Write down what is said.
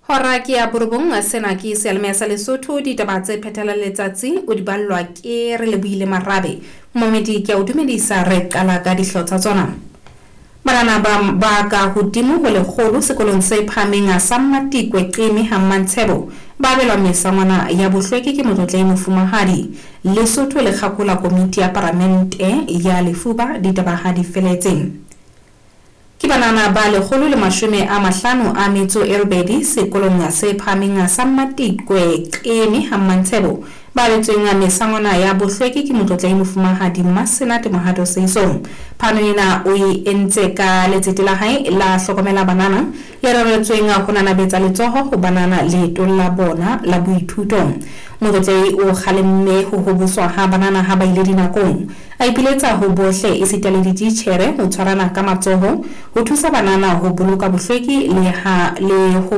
Hora ke ya borobong, sena ke seyalemoya sa Lesotho. Ditaba tse phethelang letsatsi o di ballwa ke re lebohile Marabe. Momedi ke a o dumedisa, re qala ka dihlooho tsa tsona. Banana ba ka hodimo ho 100 sekolong se phahameng sa Mmatikwe Qeme ha Mmantshebo ba abelwa mesangwana ya bohlweki ke motlotlehi mofumahadi. Lesotho le kgakola komiti ya paramente ya lefuba, ditaba ha di feletse. Ke banana ba 158 sekolong se phahameng sa Mmatikwe Qeme ha Mmantshebo ba abetsweng mesangwana ya bohlweki ke motlotlehi mofumahadi Mmasenate Mohato Seisong. Phano ena o e entse ka letsete la hae la hlokomela banana le reretsweng ho nanabetsa letsoho ho banana leetong la bona la boithuto. Motlotlehi o kgalemme ho hoboswa ha banana ha ba ile dinakong. A ipiletsa ho bohle esita le dititjhere ho tshwarana ka matsoho ho thusa banana ho boloka bohlweki le ha le ho.